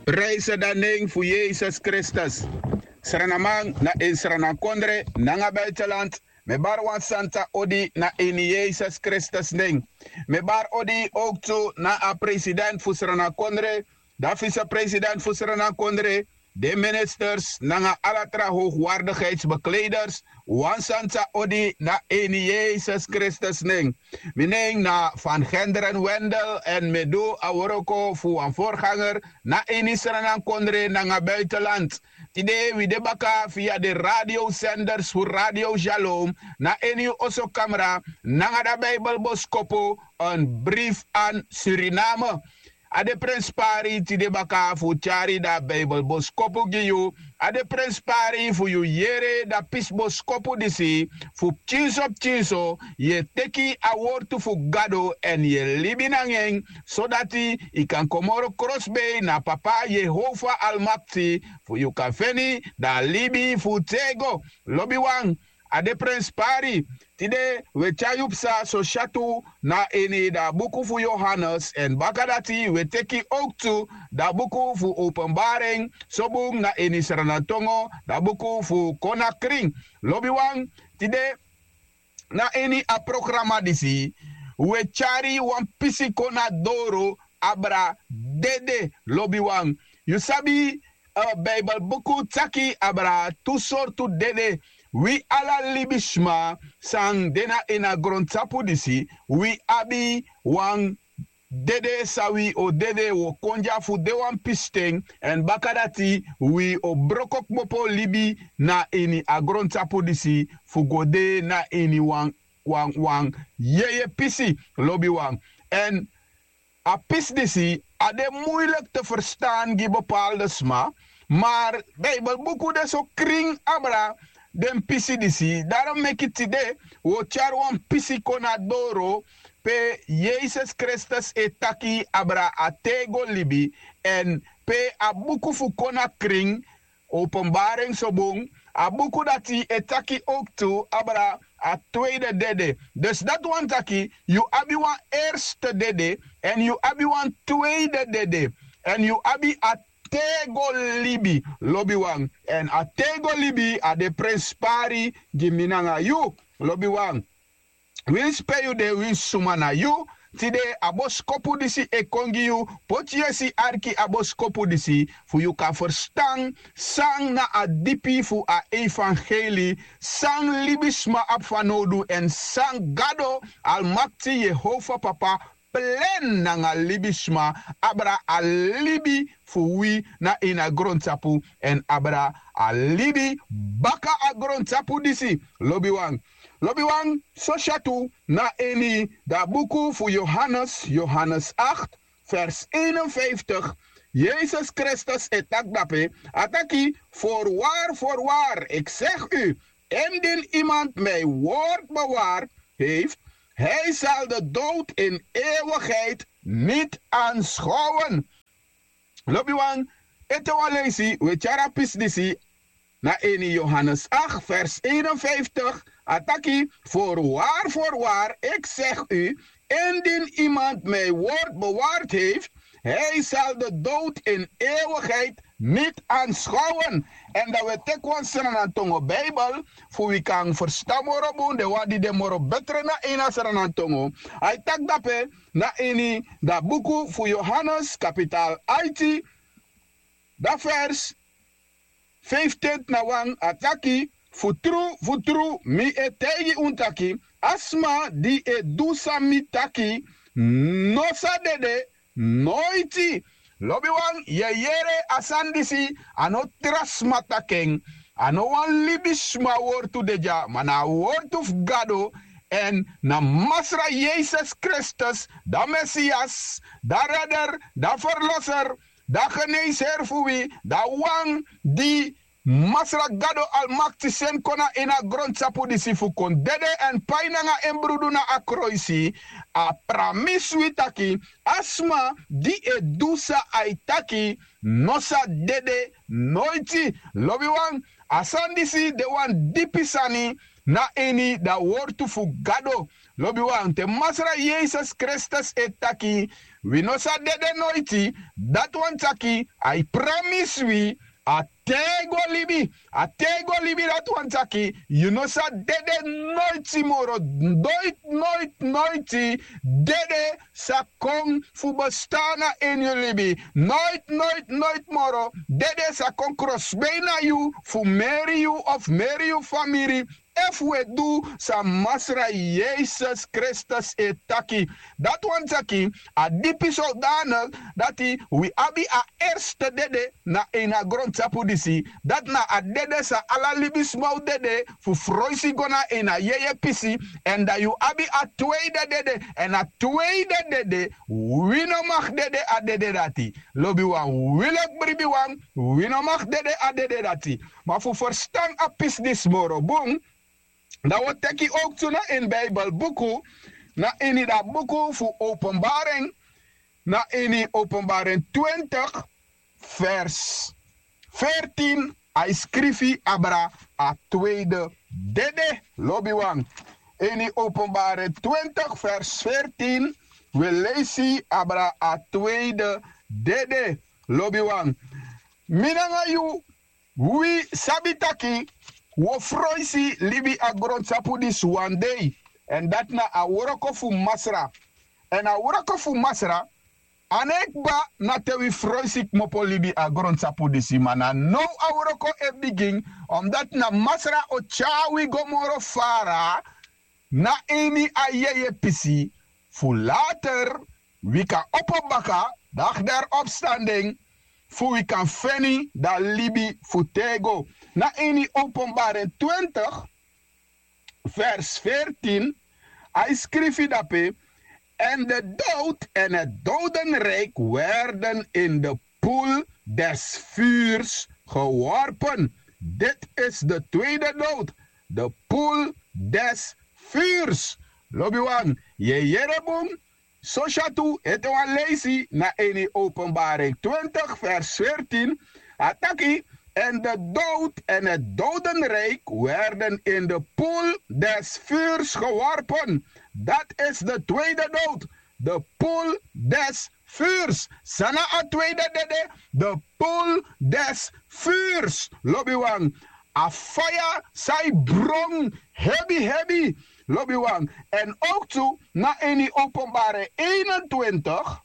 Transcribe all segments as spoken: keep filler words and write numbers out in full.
Prijse dan nen fu Yesus Kristus. Sranaman na in sranankondre nanga buitenland. Mi e bari wan santa odi na ini Yesus Kristus nen. Mi e bari odi ook tu na a president fu sranankondre, dan vicepresident fu sranankondre, den ministers nanga ala tra hoogwaardigheidsbekleders. Wan santa odi na ini Yesus Kristus nen. Mi nen na Van Genderen Wendel en mi e du a wroko fu wan voorganger na ini sranankondre nanga buitenland. Tide wi de baka via de radiosenders fu Radio Shalom na ini yu osokamra nanga da Bijbelboskopu, een brief aan Suriname. A de prenspari tide baka fu tyari da Bijbelboskopu gi yu. A de prenspari fu yu yere da pisi boskopu disi, fu pikinso pikinso yu e teki a wortu fu Gado èn yu e libi nanga en, sodati yu kan kon moro krosbei na Papa Yehova Almakti, fu yu kan feni da libi fu tego. Lobiwan, a de prenspari. Tide wi e tyari yu psa sosyatu na ini da buku fu Yohanes èn bakadati wi e teki ook tu da buku fu Openbaring, so bun na ini Sranantongo da buku fu Konakrin. Lobiwan, tide na ini a programa disi wi e tyari wan pisi kon na doro abra dede. Lobiwan, yu sabi, Bijbelbuku taki abra tu sortu dede. Wi ala libisma san de na ini a grontapu disi, wi abi wan dede san wi o dede, wi o kon dya fu de wan pisten, èn bakadati wi o broko kmopo libi na ini a grontapu disi fu go de na ini wan wan wan yeye pisi. Lobiwan, èn a pisi disi a de muilik te ferstan gi bepalde sma. Mar Bijbelbuku de so krin abra den pisi disi. Darom meki tide wi o tyari wan pisi kon na doro pe Yesus Kristus e taki abra a tego libi, èn pe a buku fu Konakrin, Openbaring so bun, a buku dati e taki ook tu abra a tweede dede. Dus dati wani taki yu abi wan erste dede èn yu abi wan tweede dede, èn yu abi a tego libi. Lobiwan, èn a tego libi a de prenspari gi mi nanga yu. Lobiwan, winsi pe yu de, winsi suma na yu, tide a boskopu disi e kon gi yu. Poti yesi, arki a boskopu disi fu yu kan ferstan san na a dipi fu a evangeli, san libisma abi fanowdu èn san Gado Almakti, Yehova Papa, plen nanga libisma abra a libi fu wi na ini a grontapu èn abra a libi baka a grontapu disi. Lobiwan, lobiwan, sosyatu na ini da buku fu Yohanes, Yohanes acht, vers eenenvijftig. Yesus Kristus e taki dape, a taki: Voorwaar, voorwaar, ik zeg u, indien iemand mijn woord bewaard heeft, hij zal de dood in eeuwigheid niet aanschouwen. Lobiwan, ete wan leisi wi e tyari a pisi disi na ini Yohanes acht, vers eenenvijftig. A taki: Voorwaar, voorwaar, ik zeg u, indien iemand mijn woord bewaard heeft, hij zal de dood in eeuwigheid niet aanschouwen. Èn dan wi e teki wan Sranantongo Bijbel fu wi kan ferstan moro bun den wan di de moro betre na ini a Sranantongo. A e taki dape na ini da buku fu Yohanes, kapitaal aiti, da vers vijftenti na wan, a taki: Fu tru, fu tru, mi e taigi unu taki, a sma di e du san mi taki no sa dede noiti. Lobiwan, yu e yere a sani disi, a no tra sma taki en, a no wan libisma wortu de dya, ma na a wortu fu Gado. Èn na Masra Yesus Kristus, da Mesias, da Redder, da Verlosser, da Geneesheer fu wi, da wan di Masra Gado Almakti seni kon na ini a grontapu disi fu kon dede èn pai nanga en brudu na a kroisi. A pramisi wi taki a sma di e du san a e taki no sa dede noiti. Lobiwan, a sani disi de wan dipi sani na ini da wortu fu Gado. Lobiwan, te Masra Yesus Kristus e taki wi no sa dede noiti. Dati wani taki a e pramisi wi a tego libi. A tego libi dati wani taki yu no sa dede noiti moro. Noiti noiti noiti dede sa kon fu bestan na ini yu libi. Noiti noiti noiti moro dede sa kon krosbei na yu fu meri yu of meri yu famiri. Efu wi e du san Masra Yesus Kristus e taki, dati wani taki a dipi sowdanik dati wi abi a erste dede na ini a grontapu disi. Dati na a dede san ala libisma o dede fu froisi go na ini a yeye pisi. Èn dan yu abi a tweide dede. Èn a tweide dede, wi no mag dede a dede dati. Lobiwan, wi leki bribiwan, wi no mag dede a dede dati. Ma fu ferstan a pisi disi moro bun, dan wi o teki owktu na ini Bijbelbuku, na ini dan buku fu Openbaring, na ini Openbaring twintig, vers veertien, a e skrifi abra a tweede dede. Lobiwan, ini Openbaring twintig, vers veertien, wi e leisi abra a tweede dede. Lobiwan, mi nanga yu, wi sabi taki wi o froisi libi a grontapu disi wan dei. Èn dati na a wroko fu Masra. Èn a wroko fu Masra, a no e kba na te wi froisi kmopo libi a grontapu disi, ma na now a wroko e bigin. Omdati na Masra o tyari wi go moro fara na ini a yeye pisi, fu later wi kan opo baka, dagderi opstanden, fu wi kan feni dan libi fu tego. Na ini Openbaring twintig, vers veertien, a e skrifi dape: En de dood en het dodenrijk werden in de poel des vuurs geworpen. Dit is de tweede dood, de poel des vuurs. Lobiwan, yu e yere bun. Sosi a tu ete wan leisi na ini Openbaring twintig, vers veertien. A taki: En de dood en het dodenrijk werden in de poel des vuurs geworpen. Dat is de tweede dood, de poel des vuurs. San na a tweede dede? De poel des vuurs. Lobiwan, a faya san e bron hebi hebi. Lobiwan, èn owktu na ini Openbaring eenentwintig,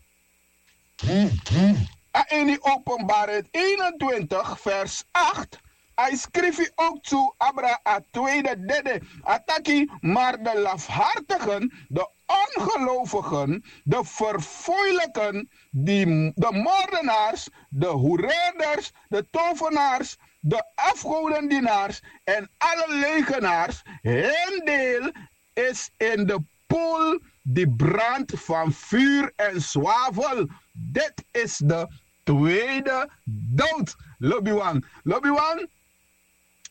a ini Openbaring eenentwintig, vers acht, a e skrifi owktu abra a tweede dede. A taki: Maar de lafhartigen, de ongelovigen, de verfoeilijken, die, de moordenaars, de hoereerders, de tovenaars, de afgodendienaars en alle leugenaars, hun deel is in de poel die brandt van vuur en zwavel. Dit is de tweede dood. Lobiwan, lobiwan,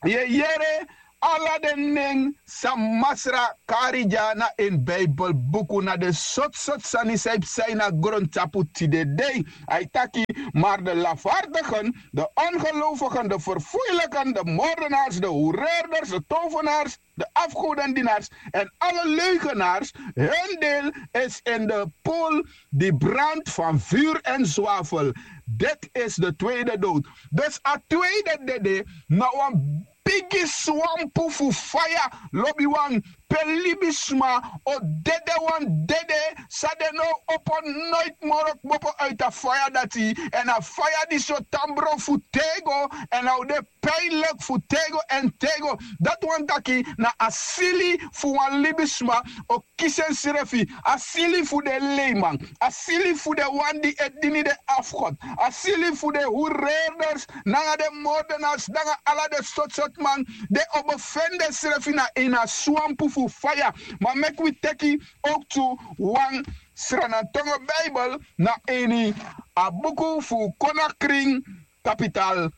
yu e yere ala den nen san Masra kari dya na ini Bijbelbuku, na den sortu sortu sani san e psa ini a grontapu tide dei. A e taki: Maar de lafhartigen, de ongelovigen, de verfoeilijken, de moordenaars, de hoereerders, de tovenaars, de afgodendienaars en alle leugenaars, hun deel is in de poel die brandt van vuur en zwavel. Dit is de tweede dood. Dus a tweede dede na wan bigi swampu fu faya, lobiwan, pe libisma o dede wan dede san den no o opo noiti moro kmopo uiti a faya dati. Èn a faya disi o tan bron fu tego, èn a o de pijnlijk fu tego èn tego. Dati wani taki na a sili fu wan libisma o kisi ensrefi, a sili fu den leiman, a sili fu den wan di e dini den afgod, a sili fu den hoereerders nanga den moordenaars nanga ala den sortu sortu man, den o befeni densrefi na ini a swampu fu faya. Ma meki wi teki owktu wan Sranantongo Bijbel na ini a buku fu Konakrin, kapital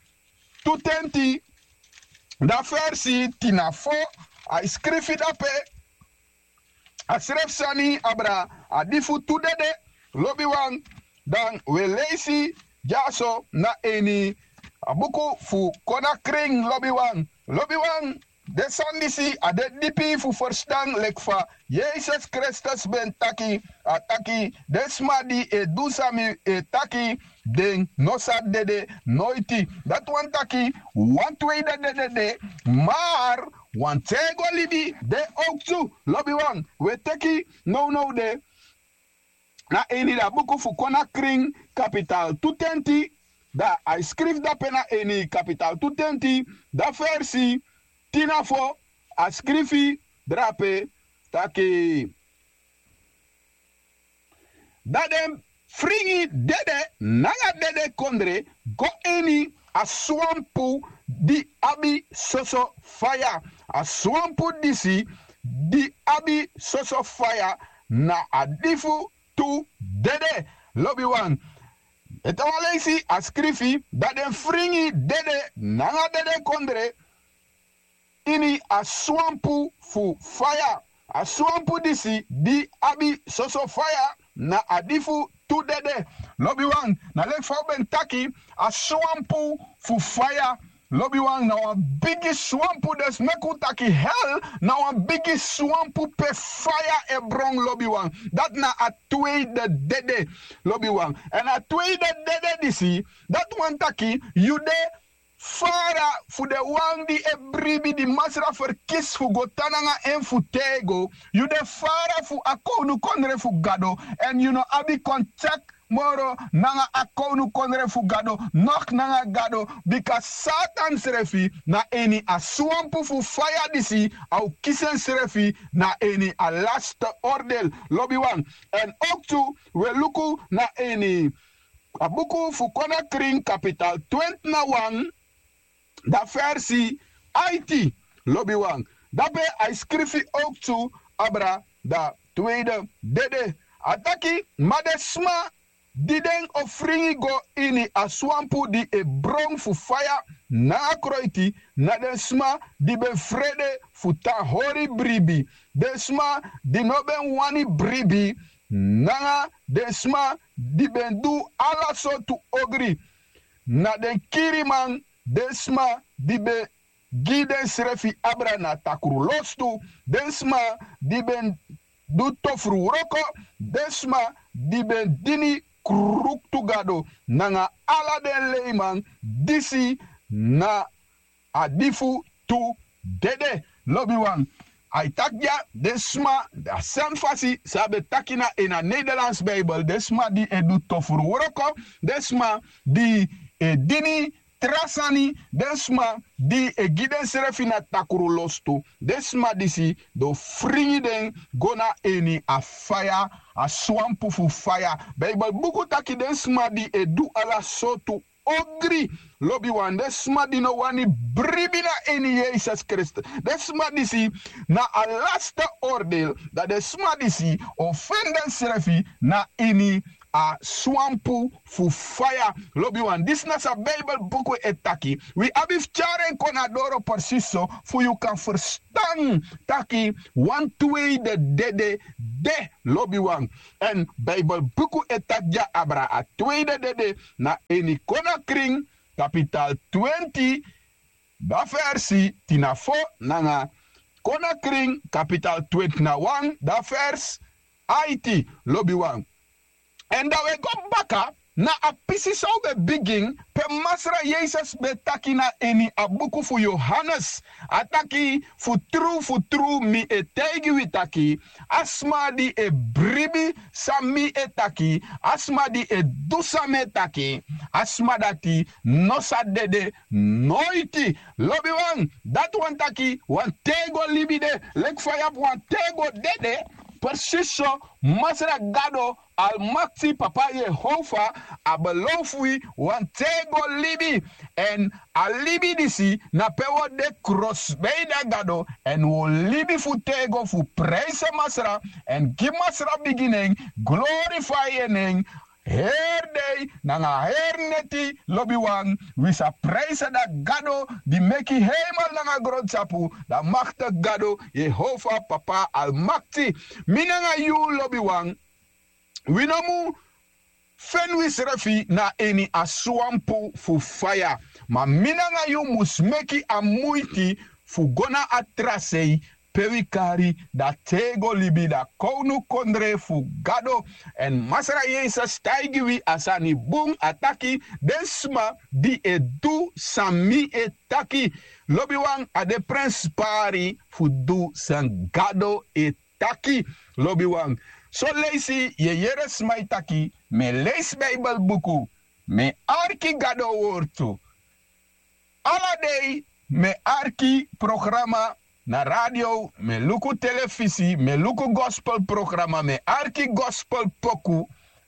tu tenti, dan versi tin na fo, a e skrifi dape a srefi sani abra a di fu tu dede. Lobiwan, dan wi e leisi dyaso na ini a buku fu Konakrin, lobiwan. Lobiwan, Den sani disi a de dipi fu ferstan, leki fa Yesus Kristus ben taki. A taki: den sma di e du san mi e taki, den no sa dede noiti. Dati wani taki wan tweede dede de, mar wan tego libi de owktu. Lobiwan, wi e teki nownow de na ini da buku fu Kon na Krin, kapital tu tenti. Da a e skrifi dape na ini kapital tu tenti, da fersi tin na fo, a skrifi drape taki: da den fringi dede nanga dede kondre go ini a swampu di abi soso faya. A swampu disi di abi soso faya na a di fu tu dede. Lobiwan, ete wan leisi a skrifi: da den fringi dede nanga dede kondre ini a swampu fu faya. A swampu disi di abi soso faya na a di fu tu dede. Lobiwan, na leki fa un ben taki, a swampu fu faya, lobiwan, na wan bigi swampu. Dus meki un taki hel na wan bigi swampu pe faya e bron, lobiwan. Dati na a tweede dede, lobiwan. Èn a tweede dede disi, dati wani taki yu de fara fu den wan di e bribi, di Masra ferkisi fu go tan nanga en fu tego. Yu de fara fu a kownukondre fu Gado, èn yu no abi kontakti moro nanga a kownukondre fu Gado, nok nanga Gado, bika Satan srefi na ini a swampu fu faya disi a o kisi ensrefi na ini a laste ordel, lobiwan. Èn owktu wi e luku na ini a buku fu Kon na Krin, kapital twenti na wan, da fersi aiti, lobiwan. Dape a e skrifi owktu abra da tweede dede. A taki: ma den sma di den o fringi go ini a swampu di e bron fu faya nanga kroiti, na den sma di ben frede fu tan hori bribi, den sma di no ben wani bribi, nanga den sma di ben du ala sortu ogri, na den kiriman, den sma di ben gi densrefi abra na takru lostu, den sma di ben du tofru wroko, den sma di ben dini kruktu gado, nanga ala den leiman. Disi na a di fu tu dede, lobiwan. A e taki dya den sma, a sani fasi san a ben taki na ini a Nederlands Bijbel, den sma di e du tofru wroko, den sma di e dini tra sani, den sma di e gi densrefi na takru lostu, den sma disi den o fringi den go na ini a faya, a swampu fu faya. Bijbel buku taki den sma di e du ala sortu ogri, lobiwan, den sma di no wani bribi na ini Yesus Kristus, den sma disi na a laste ordel, dan den sma disi o feni densrefi na ini a swampu fu faya, lobiwan. Disi na san Bijbel buku e taki. Wi abi fu tyari en kon na doro, presis so fu yu kan ferstan taki wan tweede dede de, lobiwan. Èn Bijbel buku e taki dya abra a tweede dede na ini Kon na Krin, kapital twenti, da fersi tin na fo, nanga Kon na Krin, kapital twenti na wan, da fersi aiti, lobiwan. Èn dan wi e go baka na a pisi san un ben bigin, pe Masra Yesus ben taki na ini a buku fu Yohanes. A taki: fu tru, fu tru, mi e taigi wi taki, a sma di e bribi san mi e taki, a sma di e du san mi e taki, a sma dati no sa dede noiti. Lobiwan, dati wani taki wan tego libi de. Leki fa yu abi wan tego dede, presis so Masra Gado Almakti, Papa Yehova, a belofu wi wan tego libi. Èn a libi disi na pe wi o de krosbei na Gado, èn wi o libi fu tego, fu prijsi Masra, èn gi Masra bigi nen, glorifai en nen, heri dei nanga heri neti, lobiwan. Wi sa prijsi da Gado di meki heimel nanga grontapu, da makti Gado, Yehova, Papa Almakti. Mi nanga yu, lobiwan, wi no mu feni wisrefi na ini a swampu fu faya. Ma mi nanga yu mus meki a muiti fu go na a tra sei pe wi kari da tego libi, da kownukondre fu Gado. Èn Masra Yesus taigi wi a sani bun, a taki: den sma di e du san mi e taki, lobiwan, a de prenspari fu du san Gado e taki, lobiwan. Son leisi yu e yere sma e taki: mi e leisi Bijbelbuku, mi e arki Gado wortu. Ala dei mi e arki programa na radio, mi e luku telefisi, mi e luku gospelprograma, mi e arki gospelpoku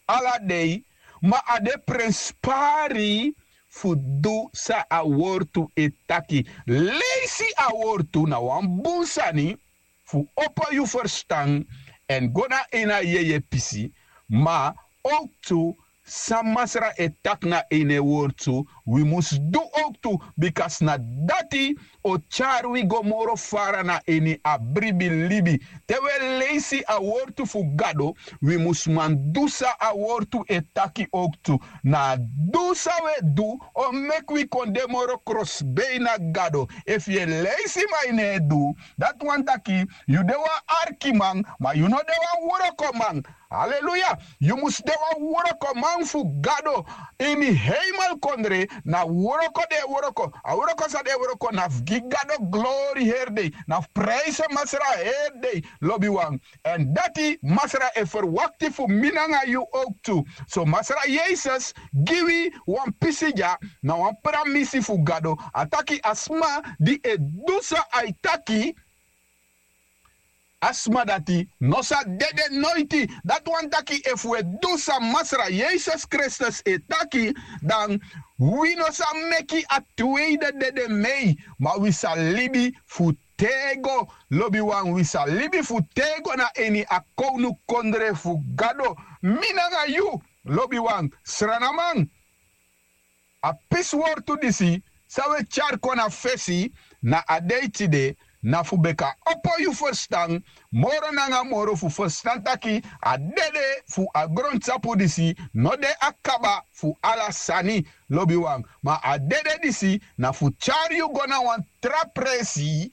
ala dei, ma a de prenspari fu du san a wortu e taki. Leisi a wortu na wan bun sani fu opo yu ferstan èn go na ini a yeye pisi, ma owktu san Masra e taki na ini en wortu, wi mus du owktu, bika na dati o tyari wi go moro fara na ini a bribi libi. Te wi e leisi a wortu fu Gado, wi mus man du san a wortu e taki owktu. Na a du san wi e du o meki wi kon de moro krosibei na Gado. Efu yu e leisi ma yu no e du, dati wani taki yu de wan arkiman, ma yu no de wan wrokoman. Aleluya. Yu mus de wan wrokoman fu Gado. Ini heimelkondre na wroko den e wroko. A wroko san den e wroko na fu gi Gado glori heri dei, na fu prijsi Masra heri dei, lobiwan. Èn dati Masra e ferwakti fu mi nanga yu owktu. So Masra Yesus gi wi wan pisi dya na wan pramisi fu Gado. A taki a sma di e du san a e taki, a sma dati no sa dede noiti. Dati wani taki efu wi e du san Masra Yesus Kristus e taki, dan wi no sa meki a tweide dede mei, ma wi sa libi fu tego, lobiwan. Wi sa libi fu tego na ini a kownukondre fu Gado. Mi nanga yu, lobiwan, sranaman, a pisi wortu disi san wi e tyari kon na fesi na a dei tide, na fu beka opo yu ferstan moro nanga moro, fu ferstan taki a dede fu a grontapu disi no de a kaba fu ala sani, lobiwan. Ma a dede disi na fu tyari yu go na wan tra presi.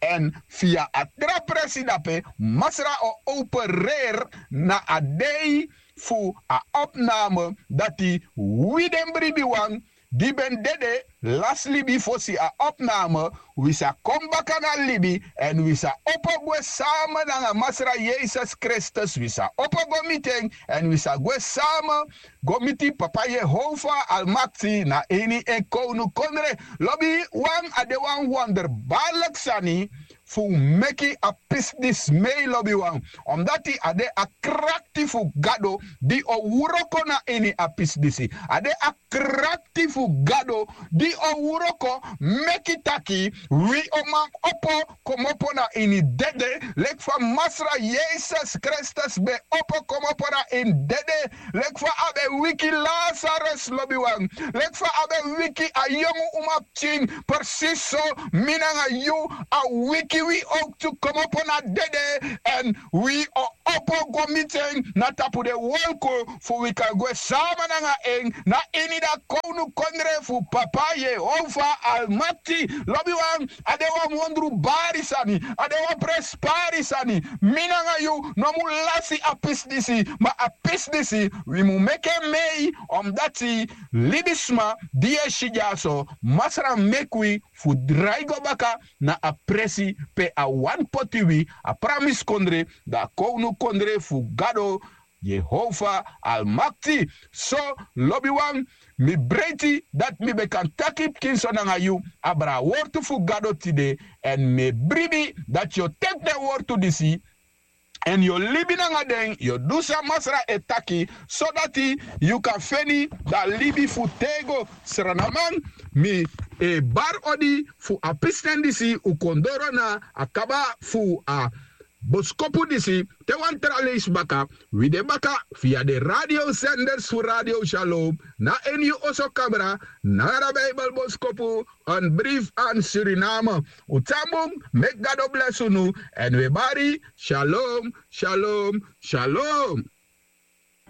Èn fia a tra presi dape Masra o opereri na a dei fu a opname, dati wi den bribiwan di ben dede lasi libi fosi a opname, wi sa kon baka na libi, èn wi sa opo gwe sama nanga Masra Yesus Kristus, wi sa opo go miti en, èn wi sa gwe sama go miti Papa Yehova Almakti na ini en kownukondre. Lobiwan, a de wan wonderbaarlijk sani fu meki a pisi disi mei, lobiwan. Omdati a de a krakti fu Gado di o wroko na ini a pisi disi. A de a krakti fu Gado di o wroko meki taki wi o man opo komopo na ini dede, leki fa Masra Yesus Kristus ben opo komopo na ini dede, leki fa a ben wiki Lazarus, lobiwan, leki fa a ben wiki a yongu umapikin, presisi so mi nanga yu a wiki wi owktu komopo na dede, èn wi o opo go miti en na tapu den wolku, fu wi kan gwe sama nanga en na ini da kownukondre fu Papa Yehova Almakti. Lobiwan, a de wan wonderbari sani, a de wan prenspari sani. Mi nanga yu no mu lasi a pisi disi, ma a pisi disi wi mu meki en mei, omdati libisma di e si dyaso, Masra meki wi fu drai go baka na a presi pe a wani poti wi, a pramisi kondre, da a kownukondre fu Gado, Yehova Almakti. So, lobiwan, mi breiti dati mi ben kan taki pikinso nanga yu abra a wortu fu Gado tide, èn mi e bribi dati yu o teki den wortu disi èn yu o libi nanga den, yu o du san Masra e taki, sodati yu kan feni da libi fu tego. Sranaman, mi e bari odi fu a pisiten disi, un kon doro na a kaba fu a boskopu disi. Te wan tra leisi baka, wi de baka fia den radiosenders fu Radio Shalom, na ini yu oso kamra, nanga da Bijbelboskopu, Een brief aan Suriname. Un tan bun, meki Gado blesi unu, èn wi e bari, shalom, shalom, shalom.